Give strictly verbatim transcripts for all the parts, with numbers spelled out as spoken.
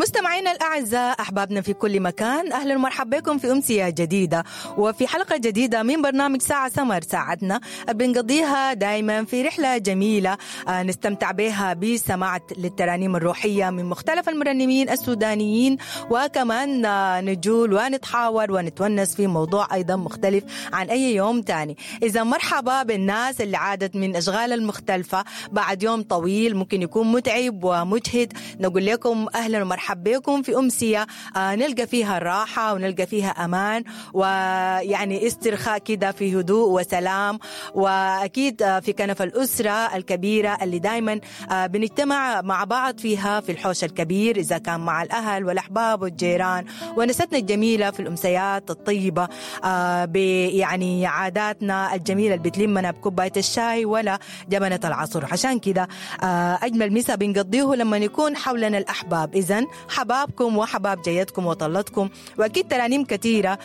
مستمعينا الأعزاء، أحبابنا في كل مكان، أهلا ومرحبا بكم في أمسية جديدة وفي حلقة جديدة من برنامج ساعة سمر. ساعتنا بنقضيها دايما في رحلة جميلة نستمتع بها بسماع للترانيم الروحية من مختلف المرنمين السودانيين، وكمان نجول ونتحاور ونتونس في موضوع أيضا مختلف عن أي يوم تاني. إذا مرحبا بالناس اللي عادت من أشغال المختلفة بعد يوم طويل ممكن يكون متعب ومجهد، نقول لكم أهلا ومرحبا بكم في أمسية نلقى فيها الراحة ونلقى فيها أمان ويعني استرخاء كده في هدوء وسلام، وأكيد في كنف الأسرة الكبيرة اللي دايما بنجتمع مع بعض فيها في الحوش الكبير، إذا كان مع الأهل والأحباب والجيران، ونستنا الجميلة في الأمسيات الطيبة يعني عاداتنا الجميلة اللي بتلمنا بكوباية الشاي ولا جبنة العصر. عشان كده أجمل مسا بنقضيه لما يكون حولنا الأحباب. إذن حبابكم وحباب جيتكم وطلتكم، وأكيد ترانيم كثيرة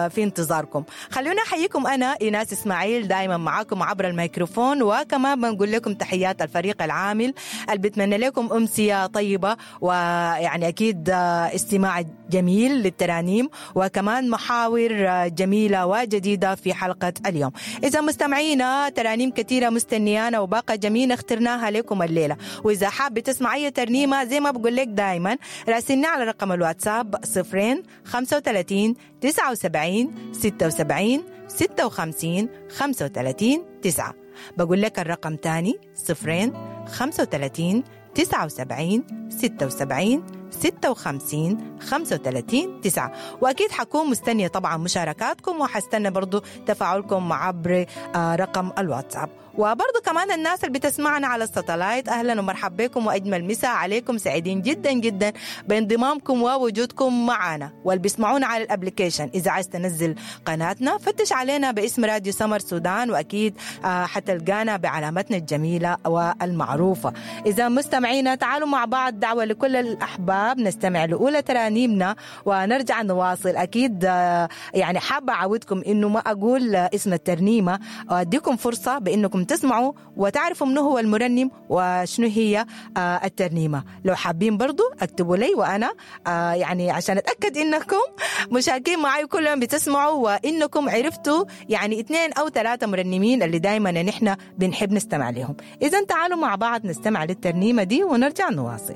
في انتظاركم. خلونا أحييكم، أنا إيناس إسماعيل دائما معاكم عبر الميكروفون، وكمان بنقول لكم تحيات الفريق العامل اللي بتمنى لكم أمسية طيبة، ويعني أكيد استماع جميل للترانيم وكمان محاور جميلة وجديدة في حلقة اليوم. إذا مستمعينا ترانيم كثيرة مستنيانا وباقة جميلة اخترناها لكم الليلة، وإذا حاب تسمع أي ترنيمة زي ما بقول لك دائما راسلنا على رقم الواتساب صفرين خمسة وثلاثين تسعة وسبعين ستة وسبعين ستة وخمسين خمسة وثلاثين تسعة. بقول لك الرقم تاني صفرين خمسة وثلاثين تسعة وسبعين ستة وسبعين ستة وخمسين خمسة وثلاثين تسعة. وأكيد حكون مستنية طبعا مشاركاتكم، وحستنى برضو تفاعلكم عبر رقم الواتساب. وبرضو كمان الناس اللي بتسمعنا على الساتلايت، أهلا ومرحبا بكم وأجمل مساء عليكم، سعيدين جدا جدا بانضمامكم ووجودكم معنا. واللي بيسمعونا على ال application، إذا عايز تنزل قناتنا فتش علينا باسم راديو سمر سودان، وأكيد حتلقانا بعلامتنا الجميلة والمعروفة. إذا مستمعينا تعالوا مع بعض، دعوة لكل الأحباب نستمع لأولى ترانيمنا ونرجع نواصل. أكيد يعني حابة أعودكم إنه ما أقول اسم الترنيمة، وأديكم فرصة بإنكم تسمعوا وتعرفوا منو هو المرنم وشنو هي الترنيمة. لو حابين برضو اكتبوا لي، وأنا يعني عشان أتأكد إنكم مشاركين معي كل يوم بتسمعوا وإنكم عرفتوا يعني اثنين أو ثلاثة مرنمين اللي دايما نحن بنحب نستمع لهم. إذن تعالوا مع بعض نستمع للترنيمة دي ونرجع نواصل.